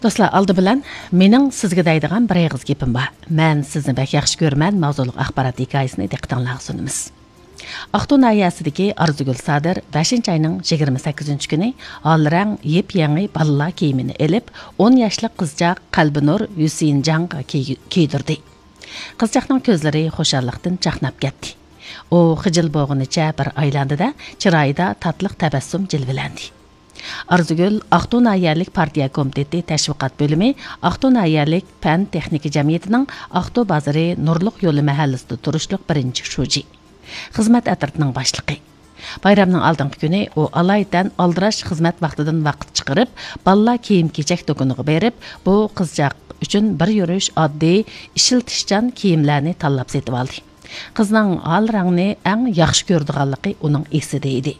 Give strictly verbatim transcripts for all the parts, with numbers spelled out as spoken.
دوستلار، ئالدى بىلەن مېنىڭ سىزگە دەيدىغان بىر ئېغىز گېپىم بار. مەن سىزنى بەك ياخشى كۆرىمەن ماۋزۇلۇق ئاخبارات ھېكايىسىنى دىققىتىڭلارغا سۇنىمىز. ئاقتۇ ناھىيەسىدىكى ئارزۇگۈل سادىر بەشىنچى ئاينىڭ يىگىرمە سەككىزىنچى كۈنى ھال رەڭ يېپيېڭى بالىلار كىيىمىنى ئېلىپ، ئون ياشلىق قىزچاق قەلبىنۇر ھۈسىيىنجانغا كىي-، كىيدۈردى. قىزچاقنىڭ كۆزلىرى خۇشاللىقتىن چاقناپ كەتتى. ئۇ خىجىل بولغىنىچە بىر ئايلاندى-دە، چىرايىدا تاتلىق تەبەسسۇم جىلۋىلەندى. ئارزۇگۈل ئاقتۇ ناھىيەلىك پارتىيە كومىتېتى تەشۋىقات بۆلۈمى، ئاقتۇ ناھىيەلىك پەن تېخنىكا جەمئىيىتىنىڭ ئاقتۇ بازىرى نۇرلۇق يولى مەھەللىسىدە تۇرۇشلۇق بىرىنچى شۇجى، خىزمەت ئەترىتىنىڭ باشلىقى. بايرامنىڭ ئالدىنقى كۈنى ئۇ ئالايىتەن ئالدىراش خىزمەت ۋاقتىدىن ۋاقىت چىقىرىپ، بالىلار كىيىم-كېچەك دۇكىنىغا بېرىپ، بۇ قىزچاق ئۈچۈن بىر يۈرۈش ئاددىي، ئىشلىتىشچان كىيىملەرنى تاللاپ سېتىۋالدى. قىزنىڭ ھال رەڭنى ئەڭ ياخشى كۆرىدىغانلىقى ئۇنىڭ ئېسىدە ئىدى.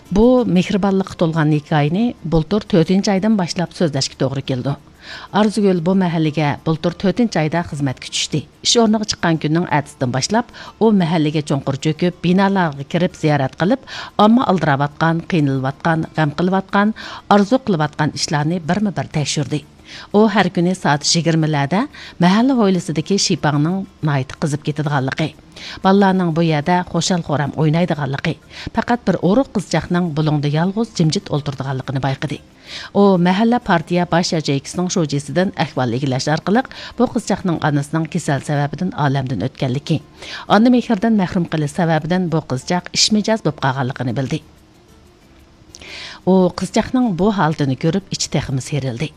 بۇ مېھرىبانلىققا تولغان ھېكايىنى بۇلتۇر تۆتىنچى ئايدىن باشلاپ سۆزلەشكە توغرا كېلىدۇ. ئارزۇگۈل بۇ مەھەللىگە بۇلتۇر تۆتىنچى ئايدا خىزمەتكە چۈشتى. ئىش ئورنىغا چىققان كۈننىڭ ئەتىسىدىن باشلاپ، ئۇ مەھەللىگە چوڭقۇر چۆكۈپ، بىنالارغا كىرىپ زىيارەت قىلىپ، ئامما ئالدىراۋاتقان، قىينىلىۋاتقان، غەم قىلىۋاتقان، ئارزۇ قىلىۋاتقان ئىشلارنى بىرمۇ بىر تەكشۈردى. ئۇ ھەر كۈنى سائەت يىگىرمىلەردە مەھەللە ھويلىسىدىكى شىپاڭنىڭ ناھايىتى قىزىپ كېتىدىغانلىقى، بالىلارنىڭ بۇ يەردە خۇشال-خۇرام ئوينايدىغانلىقى، پەقەت بىر ئورۇق قىزچاقنىڭ بۇلۇڭدا يالغۇز جىمجىت ئولتۇرىدىغانلىقىنى بايقىدى. ئۇ مەھەللە پارتىيە باش ياچېيكىسىنىڭ شۇجىسىدىن ئەھۋال ئىگىلەش ئارقىلىق بۇ قىزچاقنىڭ ئانىسىنىڭ كېسەل سەۋەبىدىن ئالەمدىن ئۆتكەنلىكى، ئانا مېھرىدىن مەھرۇم قېلىش سەۋەبىدىن بۇ قىزچاق ئىشمىجەز بولۇپ قالغانلىقىنى بىلدى. ئۇ قىزچاقنىڭ بۇ ھالىتىنى كۆرۈپ، ئىچى تېخىمۇ سىيرىلدى.